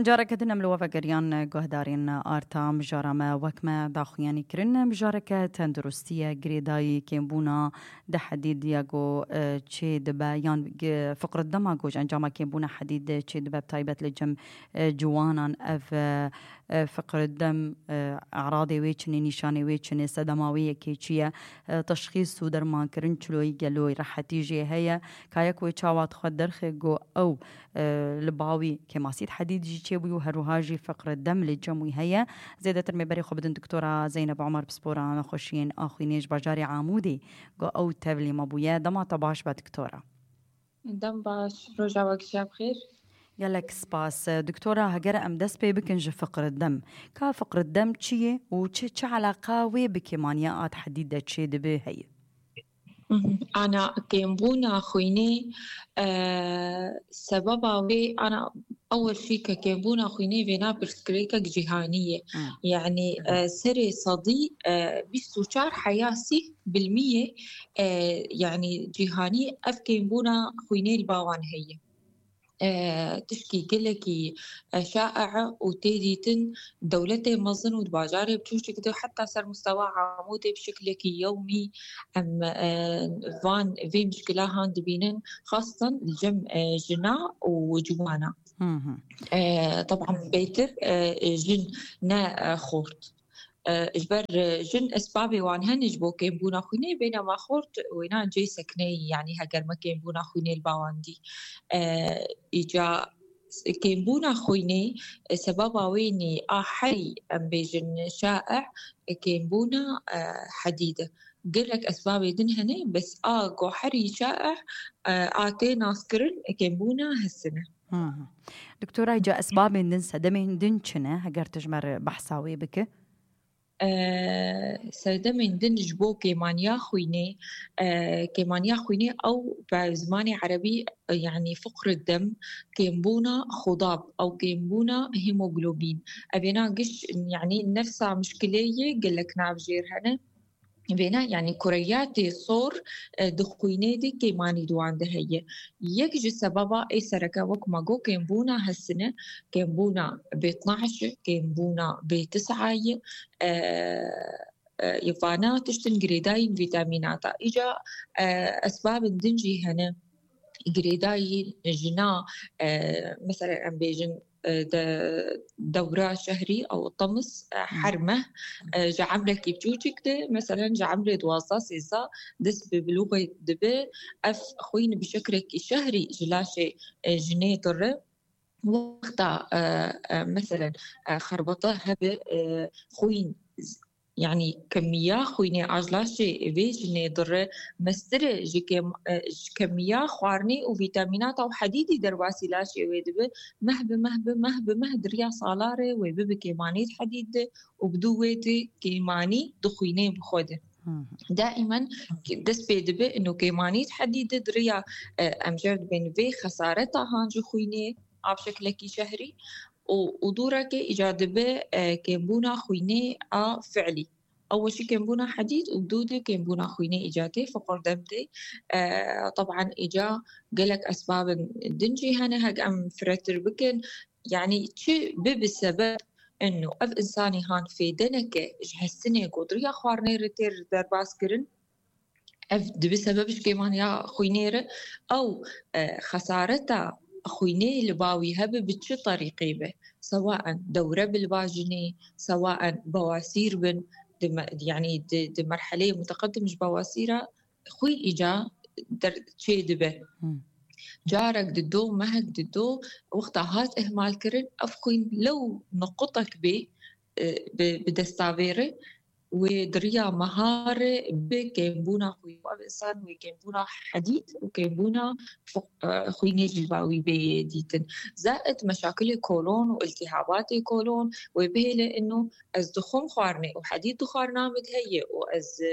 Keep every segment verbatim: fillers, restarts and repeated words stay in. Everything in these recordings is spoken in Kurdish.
Careke din em li we vegeriyan guhdarên arta mijara me wek me daxuyanî kirin. Mijareke tenduristiye girêdayî kêmbûna di hedîdiya ku, e, çê dibe yan gi-, fiqr dema ku ji encama kêmbûna hedîd çê dibe, bi taybet li cem, e, ciwanan ev, e, e, fiqr dem, e, eradê wê çinê, nîşanê wê çinê, sedema wê yekê çi ye, e, teşxîs û dermankirin çiloyî geloyî rehetî jê heye. Ka yek wê çawa dixwe derxe ku ew, e, li bawî kêmasît hedîd jî çêbû û her wiha jî fiqr dem li cem wî heye. Zêdetir me berê xwe bidin Doktora Zeynep Omer, pispora nexweşiyên axwînê ji bajarê Amûdê, ku ew tevlî me bûye. Dema te baş be Doktora. Dem baş, roja we gişa bi xêr. Gelek spas. Doktora, heger em dest pê bikin ji fiqr dem. Ka fiqr dem çi ye û çi, çi eleqa wê bi kêmaniya a hedîd de çê dibe heye? Mhm. Ana kêmbûna xwînê, e, sebeba wê, ana ewil jî ke kêmbûna xwînê vêna pirsgirêkek cîhanî ye. Hmm. Yanî, e, serê sedî, e, bîst û çar heya sî bilmiyê, e, yanî cîhanî ev kêmbûna xwînê li ba wan heye. E, tişkî gelekî, e, şae û tê dîtin dewletê mezin û di bajarê biçûçik de heta ser mustewa Amûdê bi şeklekî yewmî em, e, van vê mişkila han dibînin, xastan li cem, e, jina û ciwana. Hı hı. E, teban bêtir, e, jin ne, e, xort. E, ji ber, e, jin esbabê wan hene ji bo kêmbûna xwînê, bêne ma xort wêna cê sekneyî, yanî heger me kêmbûna xwînê li ba wan dî. E, îca kêmbûna xwînê, e, sebaba wê nî a herî, em bêjin, şae, e, kêmbûna, e, hedîd e. Gelek esbabê din hene, bes a ku herî şae, e, a tê naskirin, e, kêmbûna hesin e. Hı hı. Doktora, îca esbabên din, sedemên din çi ne? Heger tu ji me re behsa wê bike. E, sedemên din ji bo kêmaniya xwînê, e, kêmaniya xwînê ew bi zimanê erebî, e, yanî fiqr dem, kêmbûna xudab, ew kêmbûna hemoglobîn. Evêna giş, yanî nefsa mişkilê yê gelek navjêr hene. Vêna, yanî kureyatê sor, e, di xwînê de kêmanî di wan de heye. Yek ji sebaba ê sereke wek ma got kêmbûna hesine, kêmbûna B itnaş, kêmbûna B tisa ye, e, e, vana tiştin girêdayîn vîtamînata. Îca, e, esbabên din jî hene. Girêdayî jina, e, mesela em bêjin, e, de, dewra şehrî ew temis, e, Hı. her meh, e, ji emrekî biçûçik de, mesela ji emrê duwazdeh sêzdeh dest bi bilûxê dibe, ev xwîn bi şekrekî şehrî ji laşê, e, jinê dire. Wexta, e, e, meselen, e, xerbata hebe, e, xwîn, yanî kemiya xwînê a ji laşê vê jinê dire mestir e ji kem-, e, ji kemiya xwarinê û vîtamînata û hedîdî derbasî laşê wê dibe, meh bi meh bi meh bi meh di riya sala re wê bibe kêmanî di hedîd de û bi dû wê de kêmanî di xwînê bi xwe de. Hı hı. Daimen dest pê dibe ino kêmanî di hedîd de di riya, e, em jê dibên vê xesareta han ji xwînê a bi şeklekî şehrî û, û dûreke îca dibe, e, kêmbûna xwînê a fiilî. Ew jî kêmbûna hedîd û dû de kêmbûna xwînê îca tê, fiqir dem tê. E, teban îca gelek esbabên din jî hene, hek em firetir bikin. Yanî çi bibe sebeb ino ev însanî han fêde neke ji hestinê ku di riya xwarinê re tê derbas kirin, ev dibe sebeb ji kêmaniya xwînê re. Ew, e, xesareta xwînê li ba wî hebe bi çi terîqê be, sewaen dewre bi li ba jinê, sewaen bawasîr bin, di me-, yanî di, di merheleyê muteqedim ji bawasîra xwîn îca der-, çê dibe. Hmm. Carek dido, mehek dido, wexta hat ihmal kirin, ev xwîn lew nuqutek bê, e, bi, bi desta vê re, wê di riya meha re bi kêmbûna xwîn û ev însan wê kêmbûna hedîd û kêmbûna fo-, e, xwînê jî ba wî bê dîtin. Zaid meşakilê kolon û iltîhabatê kolon wê bihêle ino ez dixwim xwarinê û hedîd di xwarina min de heye û ez, e,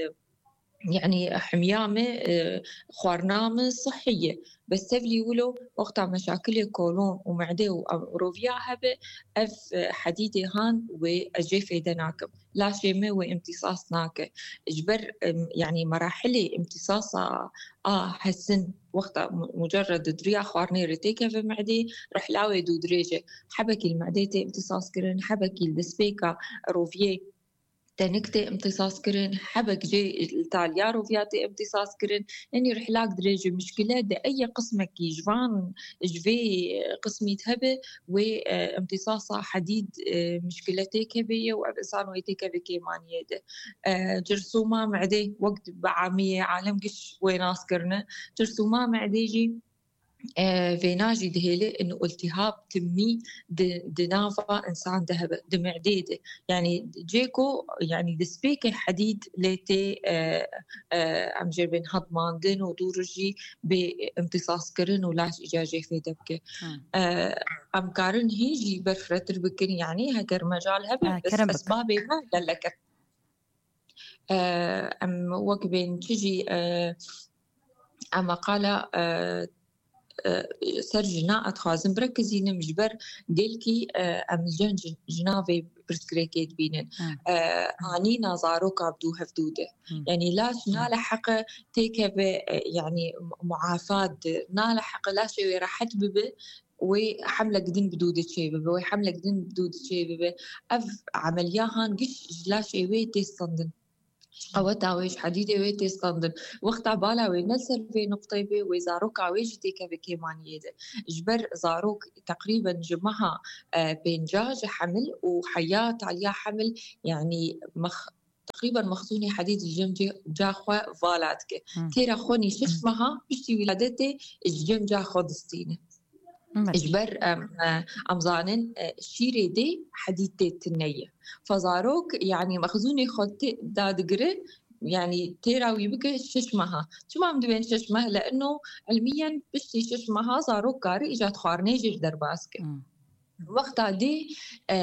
Yanî himiya me, e, xwarina me sihî ye. Bes tevlî wilo wexta meşakilê kolon û mede û roviya hebe, ev, e, hedîdê han wê ez jê fêde nakim. Laşê me wê imtîsas nake. Ji ber, em, yanî merahilê imtîsasa a hesin wexta mu-, mucerred di riya xwarinê re têkeve medê, rihla wê dû dirêj e. Hebekî li medê tê imtîsas kirin, hebekî li destpêka roviyê tenik tê imtîsas kirin, hebek jê li taliya roviya tê imtîsas kirin. Yanî rihlak dirêj e, mişkile di ey qismekî ji van, ji vê qismî hebe, wê, e, imtîsasa hedîd, e, mişkile têkevê ye û ev insan wê têkeve kêmaniyê de. E, cirsûma medê wek bi amiyê alem giş wê nas kirine. Cirsûma medê jî, e, vêna jî dihêle in iltihab timî di, di nava insan de hebe, di medê de. Yanî cê ku, yanî destpêkê hedîd lê tê, e, e, em jê bên hedmandin û dû rojî bê imtîsaskirin û laş îca jê fêde bike. Hmm. E, em karin hîn jî ber firehtir bikin, yanî heger mecal hebe, Ha, bes kerem bik. esbabê me gelek e. E, em wek bên çi jî, e, em qala, e, e, ser jina ez dixwazim birekizînim, ji ber gelkî, e, em li cem jin-, jina vê pirsgirêkê dibînin. Hmm. E, anîna zaroka bi dû hevdû de. Hmm. Yanî laş naleheqe têkeve, e, yanî mu-, muafat de, naleheqe laşê wê rehet bibe, wê hemlek din bi dû de çê bibe, wê hemlek din bi dû de çê bibe. Ev emeliya han giş ji laşê wê tê standin. Ji qeweta wê, ji hedîdê wê tê standin. Wexta bala wê ne li ser vê nuqteyê bê, wê zaroka wê jî têkeve kêmaniyê de. Ji ber zarok teqrîben ji meha, e, pênca ji hemil û heya taliya hemil, yanî mex-, teqrîben mexzûnê hedîd ji cem cê-, ca xwe vala dike. Hmm. Têra xwenî şeş meha piştî wîladetê ji cem ca xwe distîne. Belê. Ji ber em, e, em zanin, e, şîrê dê hedîd tê tune ye. Fa zarok, yanî mexzûnê xwe tê, dadigire, yanî têra wî bike şeş meha. Çima em dibên şeş meh? Li eno ilmiyen piştî şeş meha zarok kare îca xwarinê jê derbas ke. Hmm. Wexta dê, e,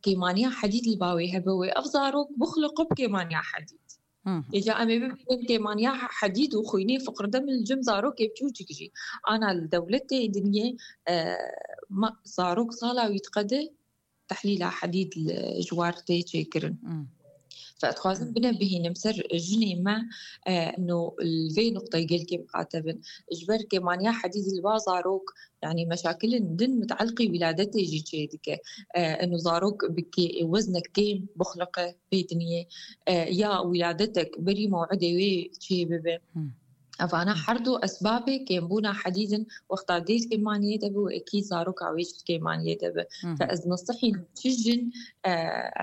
kêmaniya hedîd li ba wê hebe wê ev zarok bixliqe bi kêmaniya hedîd. Hı hı. Êca em ê bibînin kêmaniya he-, hedîd û xwînê fiqirdem li cem zarokê biçûçik jî. Ana li dewletê dinyê, e, ma-, zarok sala wî diqede tehlîla hedîd li ji war tê çêkirin. Hı. Fe dixwazim bine bihînim ser jinê me, e, no li vê nuqteyê gelkê miqate bin. Ji ber kêmaniya hedîd li ba zarok, yanî meşakilin din miteelqî wîladetê jî çê dike. E, eno zarok bi kê-, weznek kêm bixliqe pê dinyê, e, ya wîladetek berî mewidê wê çê bibe. Hmm. Evana her du esbabê kêmbûna hedîd in, wexta dê kêmaniyê de be û ekî zaroka wê jî kêmaniyê de be. Hmm. Fe ez nasihîm çi jin, e,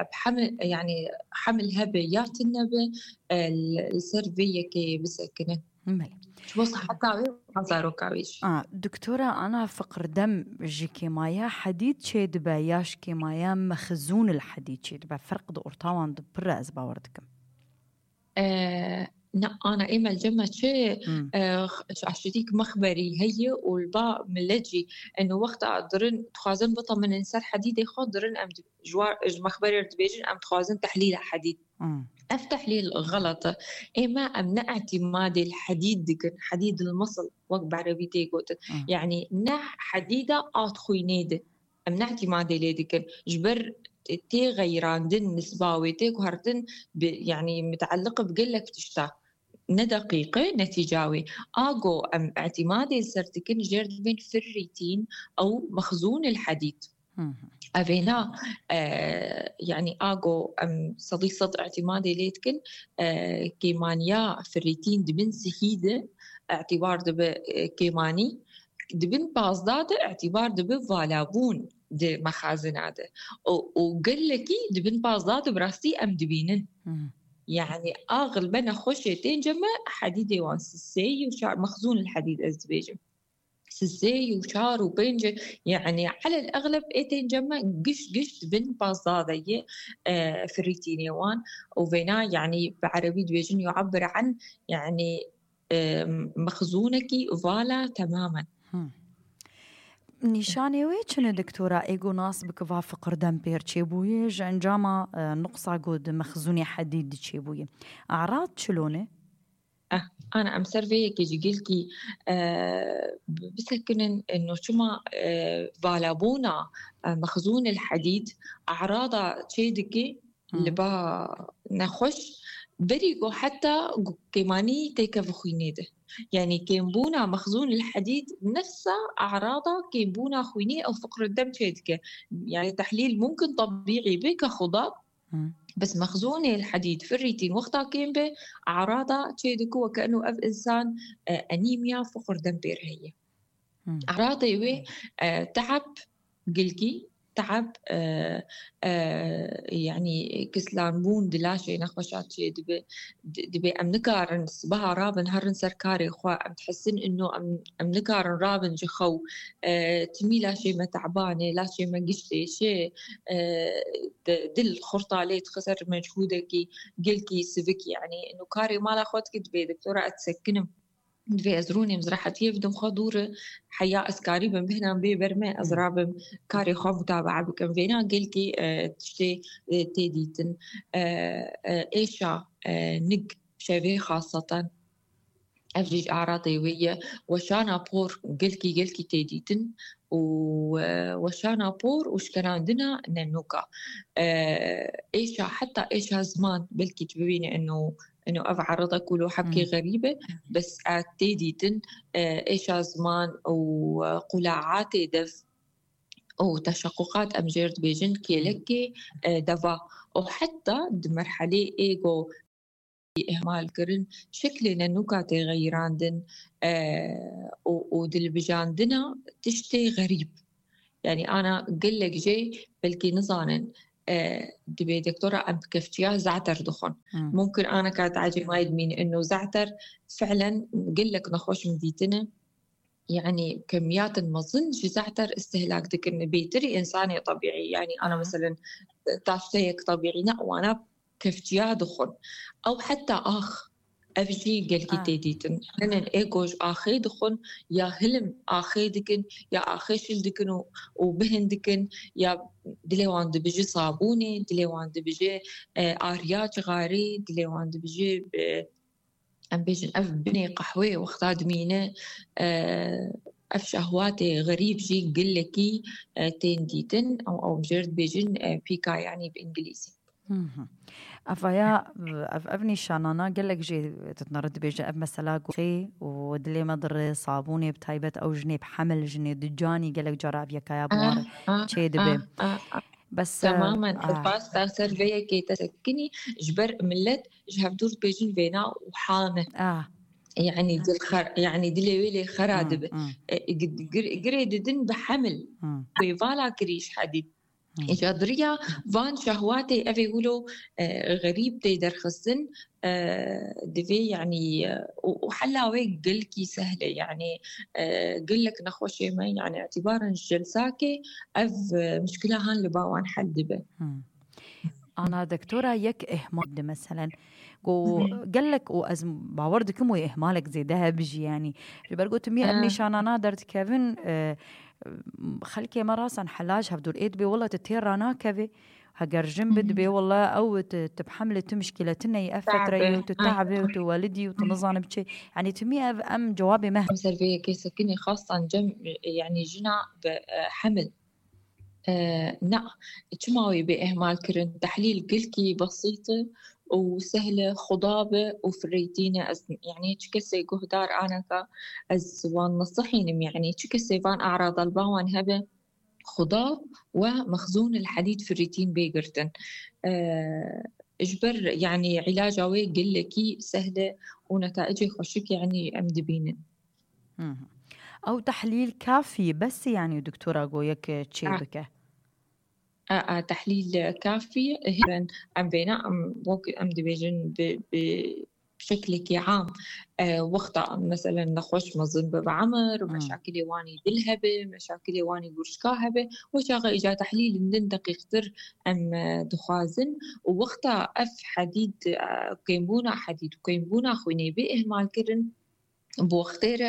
bi hemil, yanî hemil hebe ya tune be, e, li, li ser vê yekê bisekine. Belê. Ji bo siheta wê û zaroka wê jî. A, doktora, ana fiqirdem ji kêmaya hedîd çê dibe ya ji kêmaya mexzûn el hedîd çê dibe? Ferq di orta wan de pir e, ez bawer dikim. E, ne, ana ê me li cem me çi, Hmm. e, x-, ji aşitîk mexberî heye û li ba milet jî, eno wexta dirin dixwazin biteminin ser hedîdê xwe, dirin em di-, ji wa-, ji mexberê re dibêjin, em dixwazin tehlîla hedîd. Hmm. Ev tehlîl xelet e. Ê me em ne îtîmadê li hedîd dikin, hedîd el mesl, wek bi erebî tê gotin. Hmm. Yanî ne hedîda a di xwînê de. Em ne îtîmadê lê dikin. Ji ber tê xeyrandin nisba wê, tê guhertin bi, yanî miteelliq bi gelek tişta. Ne deqîq e netîca wê. A go em îtîmadê li ser dikin, jêr dibên firrîtîn ew mexzûn el hedîd. Hı hı. Evêna, e, yanî a go em sedî sed îtîmadê lê dikin, e, kêmaniya firrîtîn di bin sihî de îtîbar dibe, e, kêmanî, di bin pazda de îtîbar dibe valabûn di mexazina de. Û, û gelekî di bin pazda de bi rastî em dibînin. Hı hı. Yanî a xilbe nexweşê tên cem me hedîdê wan sisê û çar mexzûn el hedîd ez dibêjim. Sisê û çar û pênc, yanî elel exleb ê tên cem me giş giş di bin pazda de ye, e, firîtînê wan. Û vêna, yanî bi erebî dibêjin yu'ebbir an, yanî, e, mexzûnekî vala temamen. Hmm. Nîşanê wê çi ne, doktora, ê go nas bike va fiqirdem pêr çêbûye, ji encama, e, nuqsa go di mexzûnê hedîd di çêbûye? Arad çilo ne? Eh, ana em ser vê yekê jî gelkî, eh, bi-, bisekinin, eno çima, eh, valabûna, eh, mexzûn el hedîd, e'rada çê dike, Hmm. li ba nexweş, berî ku heta ku kêmanî têkeve xwînê de. Yanî kêmbûna mexzûn el hedîd nefsa e'rada kêmbûna xwînê ew fiqr dem çê dike. Yanî tehlîl mumkin tebîî be ke xuda, Hmm. bes mexzûnê el hedîd, ferrîtîn wexta kêm be, e'rada çê dike weke eno ev insan, e, enîmya, fiqr dem pêr heye. Hmm. E'radê wê, e, te'eb, gelkî te'eb, e, e, yanî kislanbûn di laşê nexweşa çê dibe, di-, dibe em nikarin sibeha rabin herin ser karê xwe, em dihisin ino em, em nikarin rabin ji xew, e, timî laşê me te'ban e, laşê me giş têşe, e, di-, dil xurta lê dixe ser mechûdekî gelkî sivik, yanî ino karê mala xwe dike dibe doktora ez disekinim. Divê ez rûnêm, ji rehetiyê bidim xwe dûr, heya ez karîbim bêhnan bê ber me, ez Hmm. rabim karê xwe mutabaa bikim. Vêna gelkî, e, tiştê, e, tê dîtin. E, e, êşa, e, nig şevê xaseten. Ev jî ji e'radê wê ye. Weşana por gelkî, gelkî tê dîtin û, e, weşana por û şikerandina nenûka. E, êşa, heta êşa ziman belkî tu bibîne eno, eno ev e'rada ku lo hebkê Hmm. xerîb e, bes e tê dîtin, e, êşa ziman û, e, qulaatê dev û teşequqat em jêr dibêjin Hmm. kêlekê, e, deva. Û heta di merhelê êgo îhmal kirin, şeklê nenûka tê xeyirandin, e, û, û dilbijandina tiştê xerîb. Yanî ana gelek jê belkî nizanin, e, dibê doktora em kevçiya ze'ter dixwin. Hmm. Mumkin ana ka tecrîmayê dimîn ino ze'ter fi'len gelek nexweş min dîtine. Yanî kemiyatin mezin ji ze'ter istihlak dikin, bêtirî însanê tebîî. Yanî ana Aha. meselen taşteyek tebîî ne, wana kevçiya dixwin. Ew heta ax, ev jî gelkî Ah. tê dîtin. Hinin ê ku ji axê dixwin, ya hilim axê dikin, ya axê şil dikin û, û bihin dikin, ya dilê wan dibije sabûnê, dilê wan dibije, e, ariya cixarê, dilê wan dibije, e, em bêjin ev binê qehweyê wexta dimîne, e, ev şehwatê xerîb jî gelekî, e, tên dîtin. Ew, ew jêr dibêjin, e, pîka, yanî bi îngilîzî. Mhm. Ev ya, ev, ev nîşanana gelek jê ditine re dibêje, ev mesela goxê û dilê me dire, sabûnê bi taybet ew jinê bi hemil, jinê di canî gelek cara ev yekaya bi wan re Ah, ah, çê dibe. ah, ah, ah. Bes, Temamen, ah. ez basta ser vê yekê te sekinî, ji ber millet ji hevdûr dibêjin vêna û hane. Ah. Yanî dil xer-, yanî dilê wê lê xera Hmm, dibe. hmm. E, gi-, gir-, girê didin bi hemil. Hmm. Wê vala kirî ji hedî. Hmm. Îca diriya van şehwatê evê wilo, e, xerîb tê derxistin, e, divê, yanî, e, û, û hela wê gelkî sehl e, yanî, e, gelek nexweşê me, yanî îtibaran ji celsakê ev, e, mişkila han li ba wan hel dibe. Hmm. Ana doktora yek ihmal de meselen. Go Hı hı. gelek û ez bawer dikim wê ihmalek zêde hebijî, yanî. Ji ber gotim ya ev Ha. nîşanana derdikevin, e, xelkê me rasan helaj hevdûr ê dibê wela tu tê ranakevê. Heger jin Hı hı. bidibê wela ew tu, tu bi hemlê tu mişkîletin neyî ev Tabe. fetreyê û tu Ha. tabe û tu welidî û tu Hı. nizanim çi. Yanî timî ev em cewabê me. Em ser vê yekê sekinî xastan cem, yanî jina bi, e, hemil. E, na, çima wê bê ihmal kirin? Tehlîl gelkî besît e û sehl e, xuda be û fireytîne. Ez, yanî çi kesê guhdar aneka, ez wan nesihînim, yanî çi kesê van e'rada li ba wan hebe, xuda we mexzûn el hedîd firîtîn bê girtin. E, ji ber, yanî îlaca wê gelekî sehl e û netaicê xweşik, yanî em dibînin. Hı hı. Ew tehlîl kafî, bes yanî doktora go yek çê Ah. bike? A, a, tehlîl kafî, hêvên em vêna, em wek em dibêjin bi, bi şeklekî am, e, wexta em meselen nexweş mezin be bi emir, Hmm. meşakilê wanî dil hebe, meşakilê wanî gurşka hebe, wê çaxa îca tehlîlên din deqîqtir em, e, dixwazin û wexta ev hedîd, e, kêmbûna hedîd û kêmbûna xwînê bê ihmal kirin, bi wextê re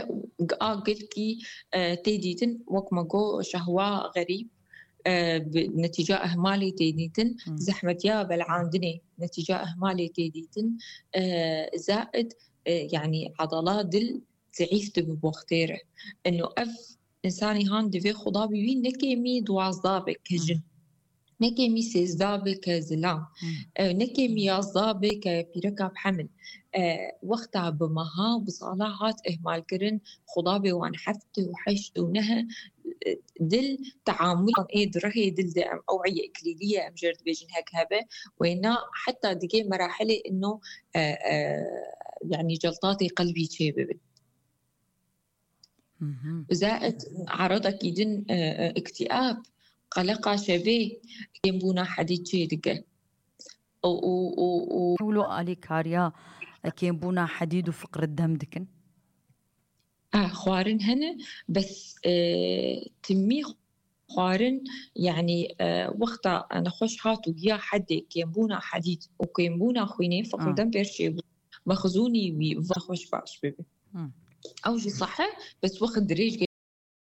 a gelkî, e, tê dîtin, wek me got, şehwa xerîb, e, bi netîca ihmalê tê dîtin, Hmm. zehmetiya belhandinê netîca ihmalê tê dîtin, e, zaid e, yanî adala dil zeîf dibe bi wextê re. Eno ev insanî han divê xuda bi wî nekêmî duwazda be ke jin. Nekêmî sêzda be ke zilam. E, nekêmî yazda be ke pîreka bi hemil. E, wexta bi meha, bi sala hat ihmal kirin, xuda bê wan heft û heşt û neh, e, dil teamul ê di rihê dil de em, ew eye iklîlî ye, em jê re dibêjin hek hebe, wêna heta digê merahilê ino, e, e, yanî celtatê qelbî çê bibin. Zaid eradekî din, e, e, îktîab, qeleqa şevê, kêmbûna hedî çê dike. Û, û, û, û Wilo alîkariya, e, kêmbûna hedîd û fiqr dem dikin? E, xwarin hene, bes, e, timî xwarin, yanî, e, wexta nexweş hat û ya hedê kêmbûna hedîd û kêmbûna xwînê, fiqr dem pêr çêbû. Mexzûnî wî va xweş baş bibe. Ew jî sahe, bes wext dirêj